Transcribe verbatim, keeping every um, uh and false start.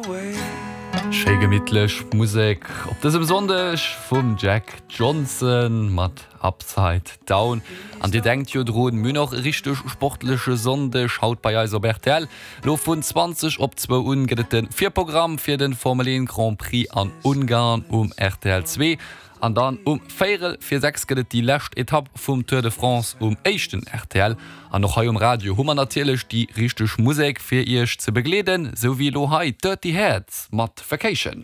Schéi gemittlech Musek op dësem Sonndeg vum Jack Johnson mat Upside Down. An dir denkt jo drun, mir hunn och e richteg sportleche Sonndeg haut bei eis op rtl. Lo vun zwanzeg op zwou un gëtt et de Virprogramm fir de Formel een Grand Prix an Ungarn um rtl zwee. An dann um véierel vir sechs gëtt et déi lescht Etapp vum Tour de France um éischten rtl. An och hei um Radio hu mer natierlech déi richteg Musek fir iech ze begleeden, sou wéi elo hei Dirty Heads mat Vacation.